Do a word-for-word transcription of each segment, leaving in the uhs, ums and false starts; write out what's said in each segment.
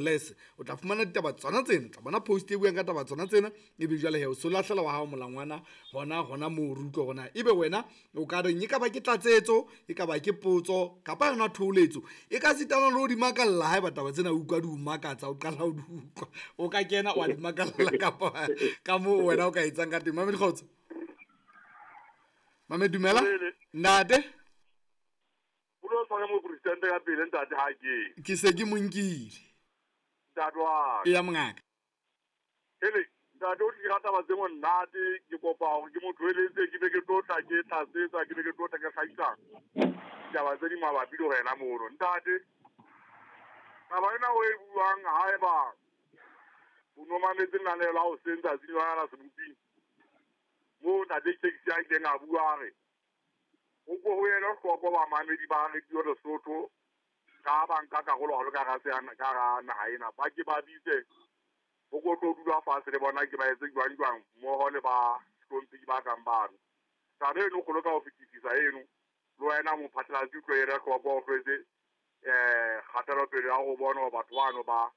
Less o tla fumana ditaba tsona tsena, o tla bona post e buang ka taba tsona tsena, ebe jwale he o so lahlela wa hao molangwana hona hona moo re utlwe hore na ebe wena o ka reng, e ka ba ke tlatsetso, e ka ba ke potso kapa yona thoholetso, e ka sitana le ho di makalla haeba taba tsena o utlwa di o makatsa, o qala ho di utlwa, o ka kena wa di makalla kapa ka moo wena o ka etsang ka teng. Mamedi kgotso. Mamedi dumela. Ntate. O lo tshware mopresidente ka pele ntate ha ke. Ke se ke mo nkile. Ntate wa ka. Eya mongaka. Hele, ntate o tlile ka taba tse monate, ke kopa hore ke mo tlohelletse ke be ke tlo tla ke tlatsetsa, ke be ke tlo tla ke hlahisa ditaba tse di mabapi le wena mono. Ntate, taba ena o e buang haeba o no mametse lenaneo la hoseng tsatsing lona la seboping, moo ntate Taxi a ileng a bua a re o ko ho ele hloko bamamedi ba Radio Lesotho ka ba nka karolo haholo ka hara ka hara naha ena, ba ke ba bitse ho ko tlo dula fatshe le bona ke ba etse jwang jwang mmoho le ba hlomphehi ba kang bano. Taba eno kgolo ka ho fetisisa eno, le wena mophatlalatsi o tlo ele hloko o tlwetse um kgatelopele ya ho bona hore batho bano ba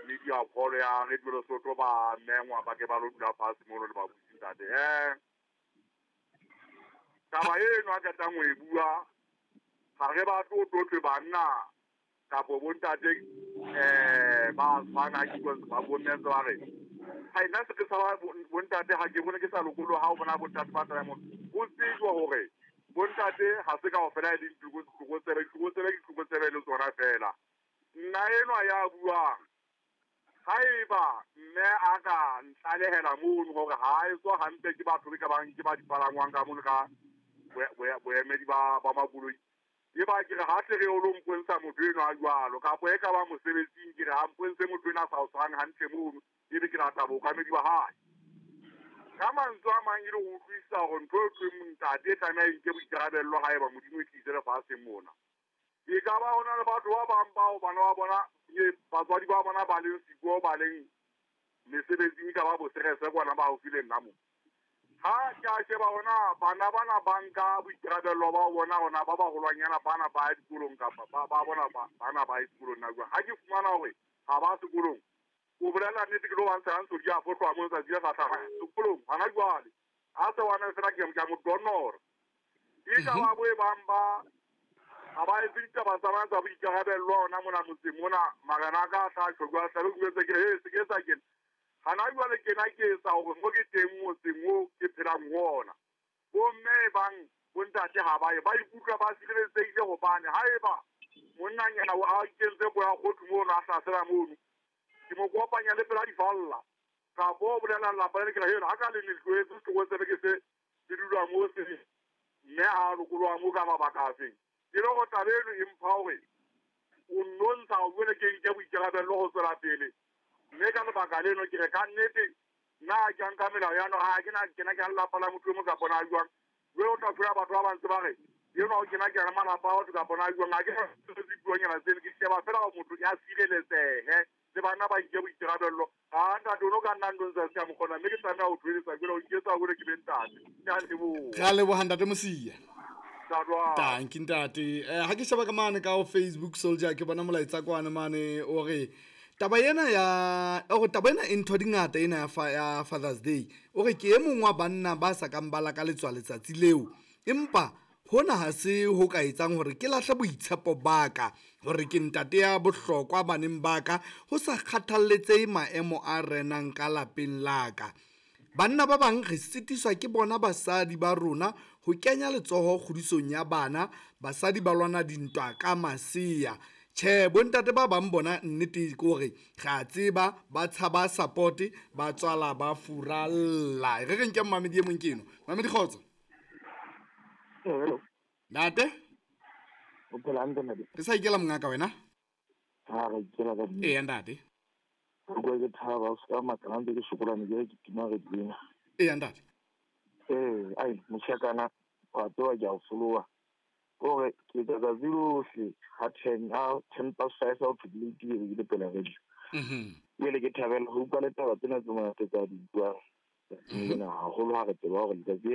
media call ya Radio Lesotho ba mengwa ba ke ba lo dula fatshe mono le babusi ntate. Eh taba eno a qetang ho e bua ha re batle ho tlo banna kapo bontate eh ba tshwana ke ba bomme ntse ba re ha nna se ke sa bontate ha ke bone ke sa lokoloha ha o bona bontate ba tla mona. Ho tsejwa hore bontate ha se kaofela e leng ditlokotsebe, ditlokotsebe ke ditlokotsebe le tsona feela. Nna enwa ya buang haeba mme a ka ntlalehela mono hore ha e tswa hantle ke batho be ka bang ke ba dipalangwang ka mono ka boemedi ba ba makoloi, e ba ke re ha tle re o lo mpontsha motho enwa a jwalo, kapo e ka ba mosebetsing ke re ha mpontshe motho enwa a sa o tshwarang hantle mono, ebe ke rata bookamedi ba hae. Ka mantswe a mang e le ho utlwisisa hore ntho e thweng ntate e tlameha e nke boikarabello haeba Modimo e tlise lefatsheng mona. E ka ba hona le batho ba bang bao bana ba bona batswadi ba bona ba leng siko ba leng mesebetsing ka ba boserese kwana ba haufi le nna mo. Ha ke a sheba hona bana bana ba nka boikarabello ba bona hona ba baholwanyana bana ba ya dikolong kapa ba ba bona bana ba ya sekolong na jwang. Ha ke fumana hore ha ba sekolong, o bolela nnete ke lo ba ntsha ntso di a fohlwa mo letsatsi le hlahlamang sekolong hana jwale. Ha se wana fela ke ke a mo donora. E ka ba bo e bang ba ha ba etse ditaba tsa bona tsa boikarabello hona mona motseng mona, marena a ka a tla tjho jwale tlabe ke jwetse ke re, he se ke etsa kena. Hana jwale kena ke etsa hore mo ke teng motseng oo ke phelang ho ona. Bomme e bang bontate ha ba ye, ba ikutlwa ba sireletsehile hobane haeba monnanyana a ikentse boya kgothu mono a hlasela mono, ke mo kopanya le pela difalla. Kapo o bolela lelapa le ke re, ha ka le ne tlohetse setlokotsebe ke se se dula moo se mme ha lokoloha moo ka mabaka a feng. Ke le hore taba eno e mpha hore o nnontsha hore jwale ke nke boikarabello ho tswela pele. Mme ka lebaka leno ke re ka nnete nna ha ke a nka melao ya no, ha ke na kena ke a lelapa la motho e mong kapa na jwang. Jwale o tla thola batho ba bang ntse ba re enwa o kena ke a malapa a batho kapa na jwang. Ha ke na dipuonyana tseno, ke sheba fela hore motho ya sireletsehe le bana ba nke boikarabello. Ha ntate o no ka nna ntho ntse se ka mo kgona, mme ke tlameha ho thoeletsa jwale o nketsa hore ke be ntate. Ke a leboha. Re a leboha ntate Mosia. Tanki ntate. Eh, ha ke sheba ka mane ka ho Facebook Soldier ke bona molaetsa kwana mane o re taba ena ya o re taba ena e ntho di ngata ena ya fa, ya Father's Day. O re ke e mong wa banna ba sa kang ba lakaletswa letsatsi leo, empa hona ha se ho ka etsang hore ke lahle boitshepo ba ka hore ke ntate ya bohlokwa baneng ba ka, ho sa kgathalletsehe maemo a renang ka lapeng la ka. Banna ba bang re sitiswa ke bona basadi ba rona ho kenya letsoho kgodisong ya bana, basadi ba lwana dintwa ka masea. Tjhe, bontate ba bang bona nnete ke hore re a tseba ba tshaba support, ba tswala ba furalla. Re re nke mmamedi e mong ke eno. Mamedi kgotso. Hello. Ntate? O phela hantle ntate? Re sa ikela mongaka wena? Ha re ikela ka di. Eya ntate. Ke kwa ke thaba o ska makala ntse ke sokola ne ke tima re dina. Eya ntate. Eh, ai moshakana wa tsewa ke a o foloha. Hore ke tsatsi lohle ha ten ha ten past five o phedile ke le pela radio. Mhm. Jwale ke thabela ho utlwa le taba tsena tse monate tsa di buang. Nna haholo ha re tseba hore letsatsi